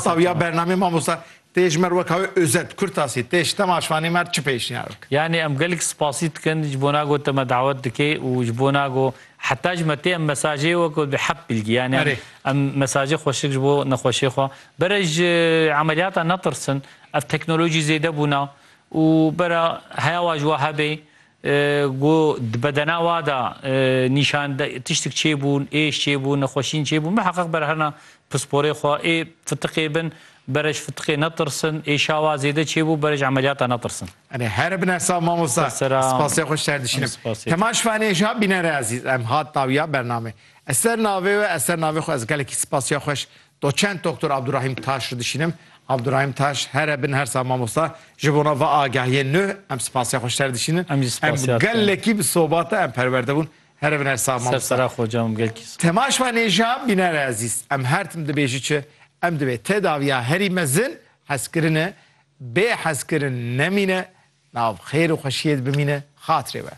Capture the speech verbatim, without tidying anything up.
Tawiya bernamê mamosta, tê ji me re wek ew özet, kurtasî, tê ji temaşvanê me re çi pêşniyar bike? Yani em gelek spasî dikin ji bona ku te me dawet dike û ji bona ku heta ji me tê em mesajê wek bi hep bilgi. Yani em, Erê. em mesajê xweşik ji bo nexweşê xwe. Bere ji emeliyata netirsin, ev teknolojî zêde bûna û bere heya wa ji wa hebê, e, ku di bedena wa de, e, nîşan de, tiştik çêbûn, êş çêbûn, nexweşîn çêbûn, miheqeq bere herna pisporê xwe, ê fitiqê bin, bere ji fitiqê netirsin, êşa wa zêde çêbû, bere ji emeliyata netirsin. Erê, here bin, her sax mamosta. Ser sera. Spasiya xwe ji te re dişînim. Spasiya. Temaşvanê ji ha bînerê ezîz, em hat tawiya bernamê. Ez ser navê we, ez ser navê xwe, ez gelekî spasiya xwe ji doçent doktor Abdurrahîm Taş re dişînim. Abdurrahîm Taş, here bin, her sax mamosta. Ji bona va agahiyê nû, em spasiya xwe ji te re dişînin. Em jî spasiya te. Gelekî bi sobate em perwerde bûn. Here bin, her sax mamosta. Ser sera xocam, gelkî. Temaşvanê ji ha bînerê ezîz, em her tim dibêjî çi? Em dibê tedawiya herî mezin hezkirin e, bê hezkirin nemîne, nav xêr û xweşiyê de bimîne, xatirê we.